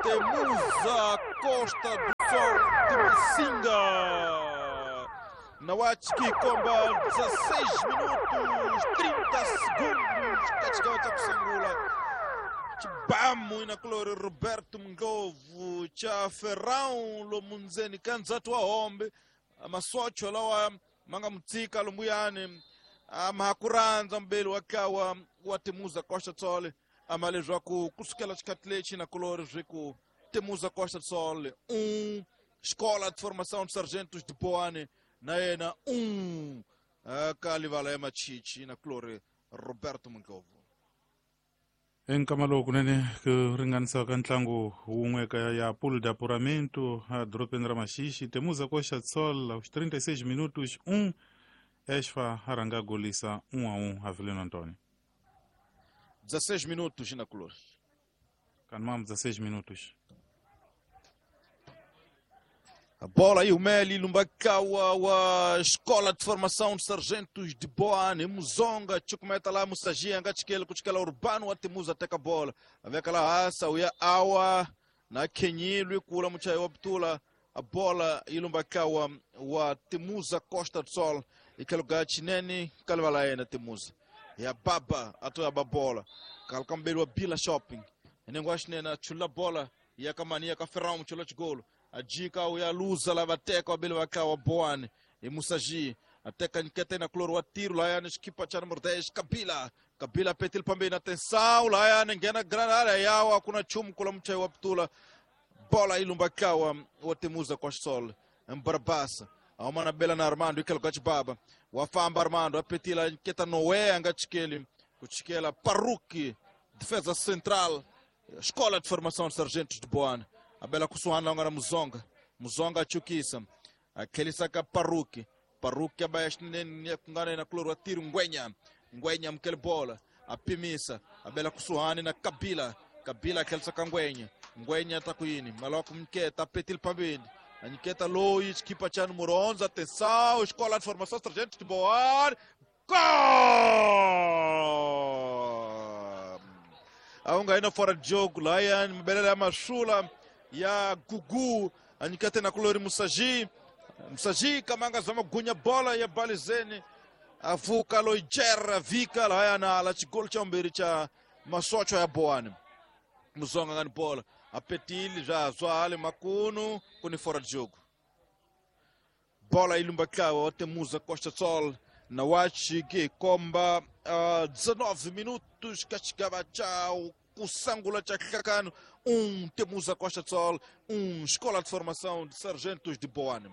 Temuza Costa do Sol de Massinga. Na Watchki komba 16 minutos 30 segundos katika cha kusangula chibamu inakulori Roberto Mngovu cha Ferrão lomunzeni kanzatu wa hombe masocho lawa manga mutsika lombuyani amahakuranza mbeli wakawa wa Temuza Costa do Sol amalezwa ku kusukela xikhathi lexi na kulori swi ku Temuza Costa do Sol 1 Escola de Formação de Sargentos de Boane na yena 1 ka livala ya Machichi na kulori Roberto Mngovu. Enkama lowu kunene ku ringanisa ka ntlangu wun'we ka ya Pool de Apuramento a dorobeni ra Maxixi, Temuza Costa do Sol aos 36 minutos 1, Esfa a rhanga golisa 1-1 Avelino Antônio. 16 minutos na color. Kanmam 16 minutos. A bola aí o Meli Lumbakawa wa Escola de Formação de Sargentos de Boane, Muzonga, chukumeta lá Musagia, Ngachikele, kuchikela Urbano, Atemuza teka bola. Aveka lá asa uya awa na Kenyilwi kula muchai wa Btula. A bola ilumbakawa wa Temuza Costa do Sol ikaluga chinene kalvala yena Temuza. Ya baba atoya babola. Kalkambeli wa Bila Shopping. Nengo ashinena chula bola ya kamani ya kaferao mchula chigolo. Ajika uya luza la vateka wabili wakawa Boane e Musaji ateka nkete na kloro wa tiro lá yani equipa cha número 10 Kabila Kabila petil pambeni atenção lá yani ngena grande área yawa kuna chumu kula mchai wa Ptula bola ilumbakawa wa Temuza kwa Sol Mbarabasa aumana bela na Armando ikelo baba wafamba Armando apetila nketa Noé angachikeli kuchikela Paruki defesa central Escola de Formação de Sargentos de Boane abela kusuhana ngana Muzonga Muzonga achukisa akhelisaka Paruki Paruki abayashinene kungana na kloro atiru Ngwenya Ngwenya mkele bola apimisa abela kusuhani na Kabila Kabila akhelisaka Ngwenya Ngwenya takuyini maloko mketa petil pambeni anyiketa loyi chikipa cha número 11 atenção Escola de Formação de Sargentos de Boane gol aunga ina fora de jogo lá mbelele ya mashula ya Gugu anyikate na kulori Musaji Musaji kamanga zama gunya bola ya balizeni avuka loijera vika la na la chigol cha mbiri cha masocho ya Boane Muzonga ngani bola apetili já zwale makunu kuni fora de jogo bola ilumbakawa Temuza Costa Sol na wachi que komba 19 minutos kachikava chao kusangula cha kakano 1 Temuza Costa do Sol 1 Escola de Formação de Sargentos de Boane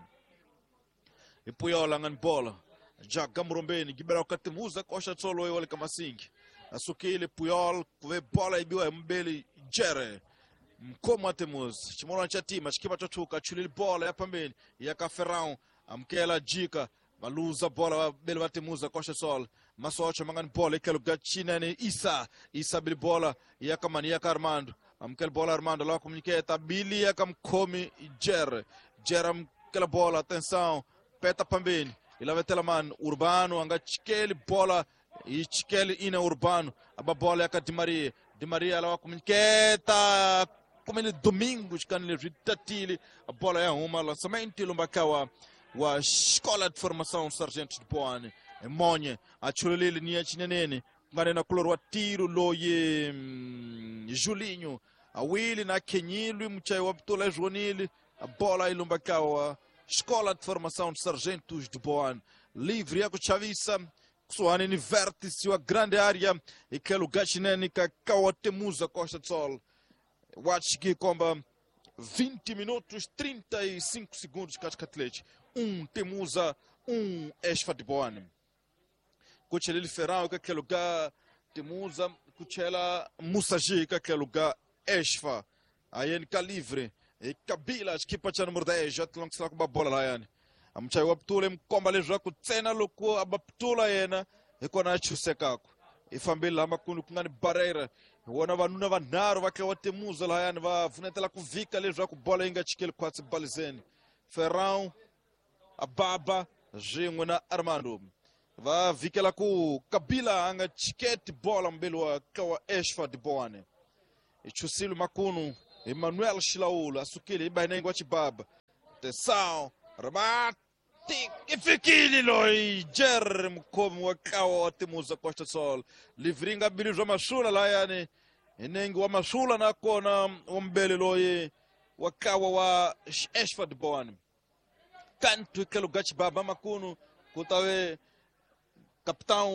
e Puyola ngani bola já gamurombeni gibera ka Temuza Costa do Sol oyo kamasingi asukile Puyol kuve bola ibiwa mbeli jere mkomo Temuza chimola cha tima chikipa chochuka chulili bola ya pambeni ya Kaferão amkela jika maluza bola bele wa Temuza Costa Sol masocho mangani bola ikaluga china ni Isa Isa bili bola ya kamani ya Armando amkela bola Armando la komuniketa bili ya kamkomi Jer Jer amkela bola atenção peta pambeni ilavetela man Urbano anga chikeli bola ichikeli ina Urbano aba bola ya Di Maria Di Maria la komuniketa kumele Domingos kanile ritatili a bola ya uma lançamento lumbakawa wa Escola de Formação Sargentos de Boane Monye achulelele ni chinenene ngane na kulor wa tiro loye Julinho awili na Kenyilwi mchai wa Ptula Joanile a bola ilumbakawa Escola de Formação de Sargentos de Boane livre ya kuchavisa kusuhani ni vértice wa grande área e que lugar chinene kakawa Temuza Costa do Sol watch komba 20 minutos 35 segundos katikati 1 Temuza 1 Esfa de Boane kuchelele Ferrão que aquele lugar Temuza kuchela Musaji que aquele lugar Esfa aí ele livre e Kabila equipa cha número 10 já tlong sala com bola lá yani amchai wa ptule mkomba le jwa kutsena loko abaptula yena ikona chusekako ifambile la makunu kungani barreira wona vanuna vanharhu va tlewa Temuza lahayani va pfunetela ku vhika leswaku bola yi nga chikeli khwatsi balizeni Ferrão Ababa swin'we na Armando va vhikela ku Kabila a nga chiketi bola mbeli wa kawa Esfa de Boane ichusile makunu Emmanuel Xilaula a sukile hi ba hi wa Chibaba. Atenção, remate e fikile loyi Jerry mukhomi wa ntlawa wa Timuza Costa Sol. Livringa bili bya Masula layani hi nenge wa Masula nakona wa mbele loyi wa ntlawa wa Ashford Bon. Kantu tlhelo ga Chibaba makunu ku ta ve capitão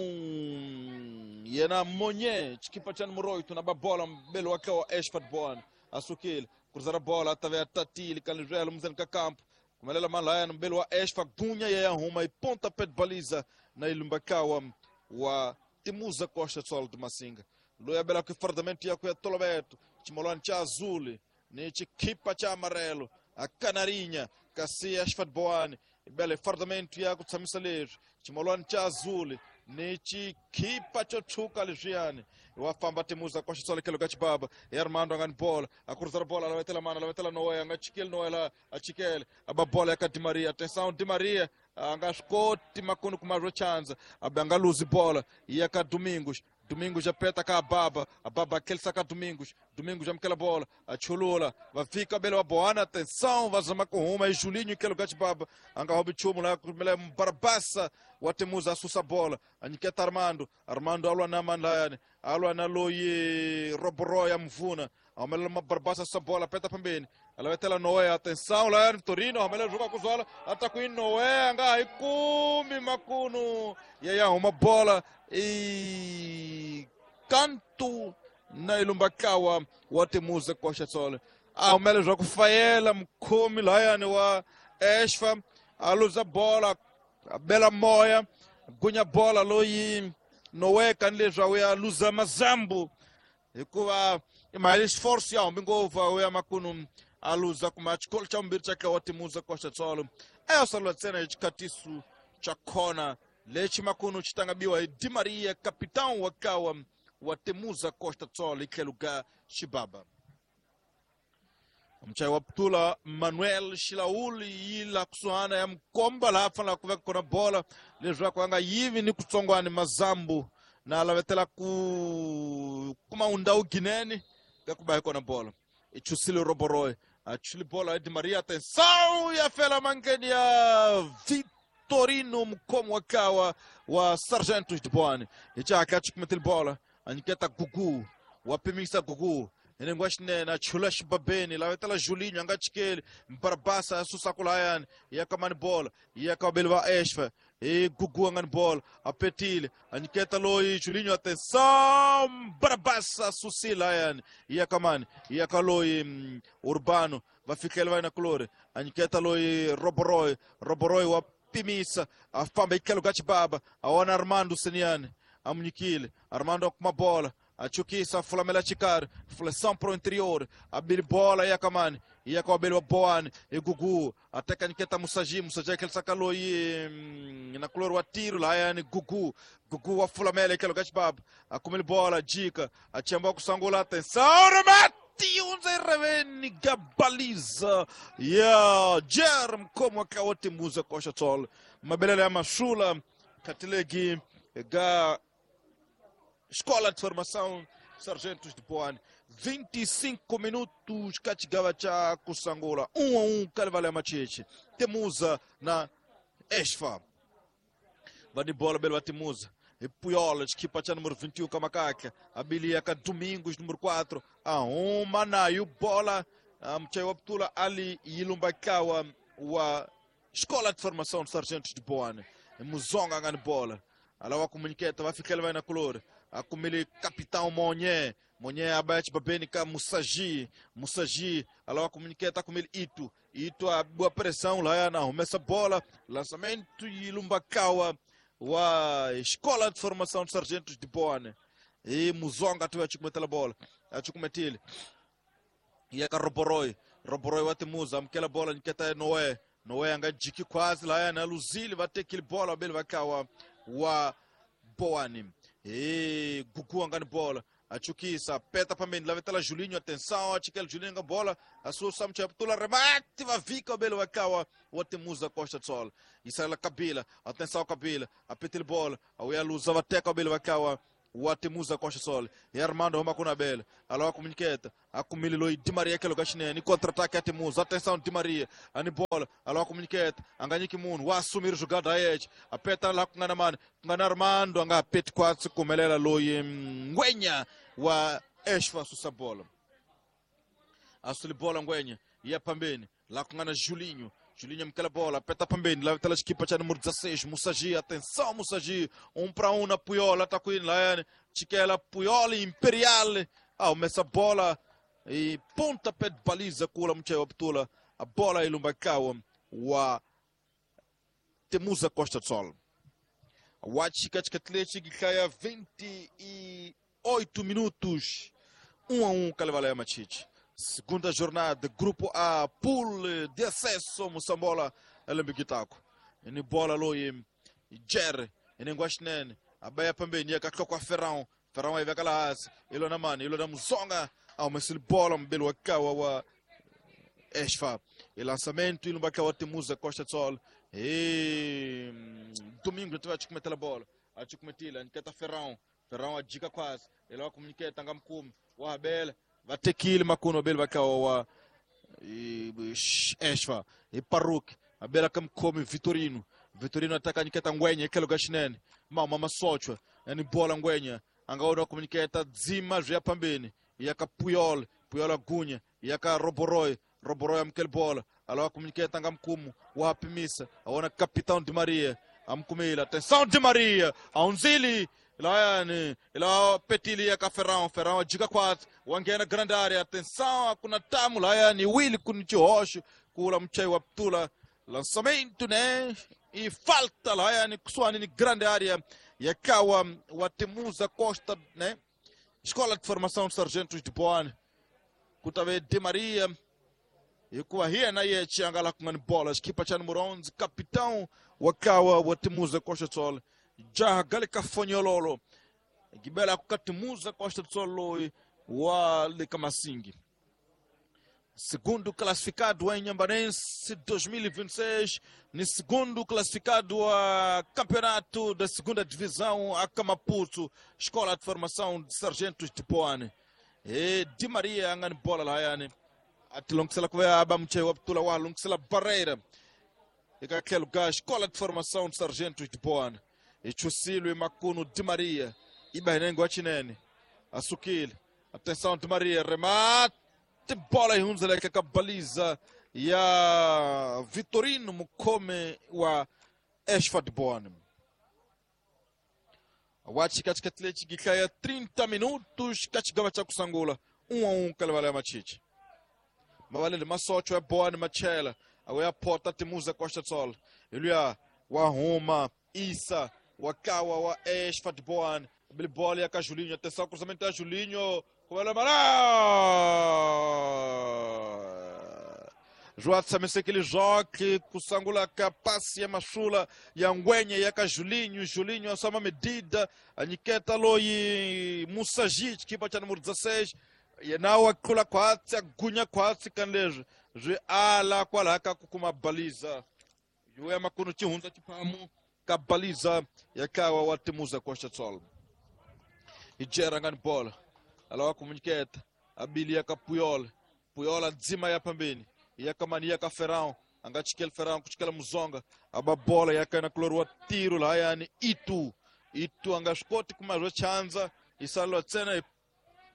yena Monye xikipa xa numero 8 na babola mbele wa ntlawa wa Ashford Bon. A sukile cruzar a bola a ta ve a tatile ka lizwelo muzeni ka campo kumelela malaya mbele wa Esfa gunya ya huma e pontapé de baliza na ilumbakawa wa Timuza Costa Sol de Massinga. Loyi abela ku fardamento ya ku ya Tolobeto chimolwani cha azul ni chikipa cha amarelo a canarinha kasi Ashford Boane ibela fardamento ya ku tshamisa leswi chimolwani cha azul ni chikipa cho tshuka leswiyani wa famba Timuza Costa Sol kelo ka Chibaba ya Armando a nga ni bola a cruzar bola lavetela mana lavetela Noé a nga chikeli Noé la a chikele a ba bola ya ka Di Maria. Atenção Di Maria a nga swi koti makunu kuma swo chanza a ba nga luzi bola ya ka Domingos. Domingos apeta ka Ababa, Ababa aquele saca Domingos, Domingos amukela bola, a chulula, va fika bele wa Boana, atenção, va zama ku huma, e Julinho que lugar de Baba, anga robi chumo lá, kumele Barbassa, wa Temuza asusa bola, a nyiketa Armando, Armando alwa na mandayane, alwa na loyi Roboroya mvuna, amela Barbassa asusa bola, peta pembeni, alavetela Noé, atenção lá, Torino, amela joga kuzola, ataku Noé, anga ikumi makunu, yaya uma bola e canto na ilumbakawa wa Timuza Costa Sol. A umele joga Faela mkhomi layani wa Esfa a luza bola a bela moya gunya bola loyi Noé kanileswa ya luza mazambu hikuva imali esforço ya hombi ngopfu ya makunu a luza kuma xikolo xa vumbirhi xa wa Timuza Costa Sol. Eyosalwa ntsena hi xikhatiso xa khona lexi makunu xi tangabiwa hi Di Maria capitão wa kawa wa Timuza Costa Sol hi tlhelo ka Chibaba. Mchayi wa putula Manuel Xilauli yi la kusuhana ya mukomba laha fanelaka ku veka kona bola leswaku a nga yivi ni kutsongwani mazambu na lavetela ku kuma undhawu ginene ka ku ba hi kona bola. I chusile Roboroy a chuli bola ya Di Maria. Atenção ya fela mangeni ya Vitorino mukhomi wa kawa wa Sargentos de Boane. Hi chaka chikumetile bola a nyiketa Gugu wa pimisa Gugu enengwa xinene a chula xibabeni lavetela Julinho a nga chikeli Barbasa a susa kulayani ya ka mani bola ya ka vabeli va Esfa hi Gugu a nga ni bola a petile a nyiketa loyi Julinho. Atenção Barbasa a susile layani ya ka mani ya ka loyi Urbano va fikela va yina kulori a nyiketa loyi Roboroy. Roboroy wa pimisa a famba hi tlhelo ka Chibaba a vona Armando Seniani a mu nyikile Armando a kuma bola a chukisa fulamela xikari flexão pro interior a bili bola ya kamani ya ka wabeli wa Boane e Gugu a teka nyiketa Musaji. Musaji aquele sakaloyi na kulori wa tiro layani Gugu. Gugu wa fulamela hi tlhelo ka Chibaba a kumile bola jika a chemba ku sangula. Atenção remate unze reveni gabaliza ya Jer mkhomi wa ntlawa wa Timuza Costa Sol. Mabelelo ya Masula khatilegi ga Escola de Formação Sargentos de Boane. 25 minutos kachigawa cha kusangula 1-1 Kalivale ya Macheche Temuza na Esfa vani bola bele wa Timuza e Puyola xikipa xa número 21 ka makaka abilia ka Domingos número 4 a huma nayo bola mchayi wa putula ali yilumba kawa wa Escola de Formação de Sargentos de Boane. Muzonga nga ni bola alawa kumunyiketa va fikela va yina kulori a kumile capitão Monye. Monye abaya xibabeni ka Musaji. Musaji alawa kumunyiketa kumile Itu. Itu a boa pressão lá na humesa bola lançamento yilumba kawa wa Escola de Formação de Sargentos de Boane. E Muzonga tu achikumetela bola achikumetile ya ka Roboroy. Roboroy wa Timuza amukela bola nyiketa Noé. Noé anga jiki khwazi laya na luzile va tekile bola bele va kawa wa Boane. E Gugu anga ni bola achukisa peta pambeni lavetela Julinho. Atenção achikela Julinho nga bola asusa mchaputula remate va vika bele va kawa wa Timuza Costa Sol. Isala Kabila. Atenção Kabila apetile bola auya luza va teka bele va kawa wa Temuza Costa Sol. E Armando huma kuna bela. Alawa kumunyiketa. Akumile loyi Di Maria kelo kashinene. Contra-ataque ya Temuza. Atenção Di Maria. Ani bola. Alawa kumunyiketa. Anganyiki munhu. Wa assumir jogada ayeche. Apeta la kungana mani. Kungana Armando anga peti kwatsi kumelela loyi Ngwenya wa Eshfa susa bola. Asuli bola Ngwenya. Ya pambeni. La kungana Julinho. Julinho mkela bola, peta pambeni, lá tela equipa cha número 16, Musagi, atenção Musagi, 1 para 1 na Puyola, tá com ele lá, Chiquela Puyola Imperial, essa bola e ponta pé de baliza kula mchewa Abdullah, a bola ilumbakawa wa Temuza Costa do Sol. Wachi katika Atlético kaya 28 minutos, 1-1 Kalevala ya Machichi. Segunda jornada, grupo A, pool de acesso, Moçambola, Elembigitaco. Ni bola loi, Jer, Nenguashnene, a Baia Pambeni, a Cacocua Ferrão, Ferrão aí vai aquela Ilona Mani, Ilona Muzonga, mas ele bola, um belo acaua, Esfa. E lançamento, Ilumba Kawa Temuza, Costa do Sol. E domingo, tu vai te cometer a bola, a te cometer, a Nketa Ferrão, Ferrão a dica quase, ele vai comunicar, Tangamkum, o Abel. Vatekile makuno bel bakawa Esfa e Paruk a bela kamkomi Vitorino Vitorino ataka niketa Ngwenya kelo gashinene mama masochwa yani bola Ngwenya angaona komuniketa dzima zya pambeni yaka Puyol Puyol agunya yaka Roboroy Roboroy amkel bola alawa komuniketa ngamkumu wapimisa aona capitão Di Maria amkumila atenção Di Maria aunzili Layani, ila petilia ka Ferrão, Ferrão diga 4, wangena grande área, atenção, kuna tamu Layani, Willy kunichihosh, kula mchei wa Ptula, lançamento, né? E falta Layani, kusuani ni grande área, yakawa wa Temuza Costa, né? Escola de Formação de Sargentos de Boane, kutave Di Maria, e kuwa hia na ye chiangala kungani bola, equipa cha número 11, capitão wakawa wa Temuza Costa Sol. Jaha galika fonyololo gibela kukatimuza Costa do Sol wa Likamasingi. Segundo classificado em Inhambanense 2026, no segundo classificado a campeonato da segunda divisão a Camaputo, Escola de Formação de Sargentos de Boane. E Di Maria angani bola layani. Atilongisela kuya abamche waptula wa longisela barreira. Ikakhelo lugar Escola de Formação de Sargentos de Boane. Ichusilwe Makuno Di Maria, Ibahenengo Achinene, Asukile, atenção Di Maria, remate, bola e hunzeleka kabaliza ya Vitorino Mukome wa Esfa de Boane. Wachi katika Atlético gikaya 30 minutos kachigaba cha kusangula 1-1 Kalevala ya Machichi. Mabalele masocho ya Boane Machela, awe porta Temuza Costa do Sol. Iluya wa Roma Isa wakawa wa Esfa de Boane, bola ya Julinho, atenção, cruzamento da Julinho, com ela Mará! João Samese joque, kusangula kapasi ya mashula ya Ngwenya ya Julinho, Julinho a soma medida, a Niketa loi Musagi, equipa cha número 16, e na akula kwatsi, agunya kwatsi kanlejo, je ala kwalaka kukuma baliza. Yuya makuno chihunza chipamu. Kabaliza yakawa wa Temuza Costa do Sol. Ijera ngani bola. Alawa komuniketa. Abili yaka Puyol. Puyol adzima ya pambeni. Yaka mani yaka Ferrão. Angachikele Ferrão kuchikela Muzonga. Aba bola yaka na klorwa tiro la yani Itu. Itu angaskoti kumazwa chanza. Isalo tsena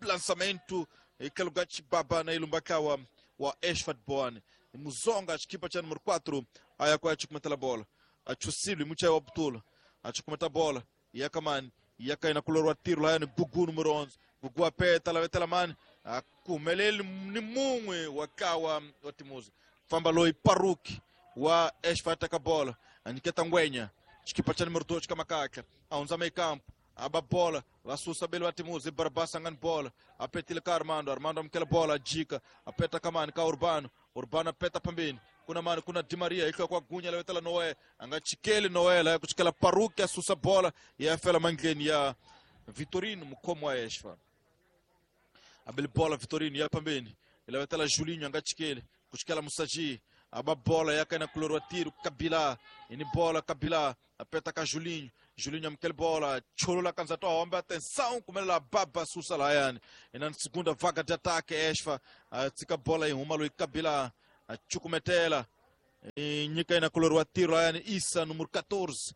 lançamento. Ikalugachi baba na ilumbakawa wa Esfat Boane. Muzonga chikipa cha número 4. Aya kwa chikumetela bola. Achusilwe mucha wa Butula achukumeta bola yakamani yakaina kulorwa tiro la yani Gugu número 11 Gugu apeta la vetela mani akumeleli ni mumwe wakawa wa Timuza famba loi Paruki wa Esfata kabola aniketa Ngwenya chikipa cha número 2 kamakaka aunza meio campo aba bola vasusa belo wa Timuza Barbasa ngani bola apetile ka Armando Armando amkela bola jika apeta kamani ka Urbano Urbano apeta pambeni kuna mani kuna Di Maria iko kwa gunya lewetela Noé angachikele Noé la kuchikela Paruki asusa bola ya fela mangeni ya Vitorino mkomo wa Esfa abel bola Vitorino ya pambeni lewetela Julinho angachikele kuchikela Musaji aba bola yakaina kulorwa tiro Kabila ini bola Kabila apeta ka Julinho Julinho amukele bola chulula kanza tohombe atenção kumelela baba susa layani ina segunda vaga de ataque Esfa tsika bola yi huma loyi Kabila chukumetela nyika ina kulori wa tiro layani Isa número 14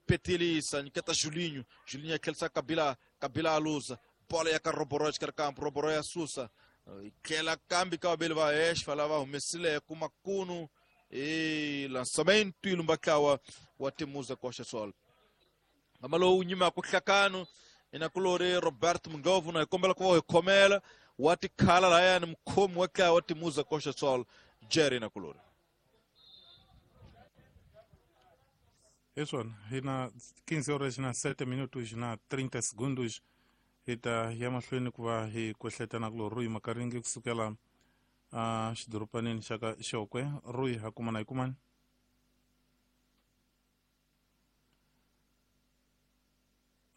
petili Isa nyiketa Julinho Julinho akhelisa Kabila Kabila aluza bola ya ka Roboro exikarhi kampo Roboro ya susa tlhela kambi ka vaveli va Esfa lava humesileke makunu e lançamento ilumba tlawa wa Temuza Costa Sol ngama lowu nyimaka nhlakano ina kulori Roberto Mungovu na hi kombela ku va hi khomela wa tikhala layani mukhomi wa tlawa wa Temuza Costa Sol Jerry na kulori hi swona hi na 15 horas na 7 minutos na 30 segundos hi ta ya mahlweni ku va hi kwehletana kulo Rui Makaringi kusukela xidoropanini xa ka Xokwe. Rui ha kumana hi kumani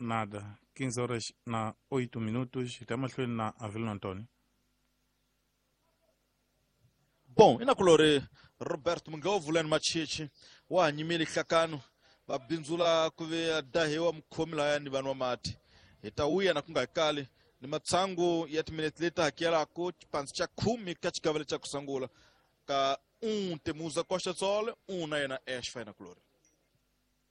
nada 15 horas na 8 minutos hi ta mahlweni na Avelino Antonio. Bom, ina kulori Roberto Mungovu lani Machichi wa ha nyimile nhlakano va bindzula ku ve dahiwa mukhomi layani vanhu wa mati hi ta wuya na ku nga hi kali ni matsangu ya timinete leti hakelaka xipandzi xa 10 ka xigavelo xa ku sungula ka 1 Temuza Costa Sol 1 na yena Esfa ina kulori.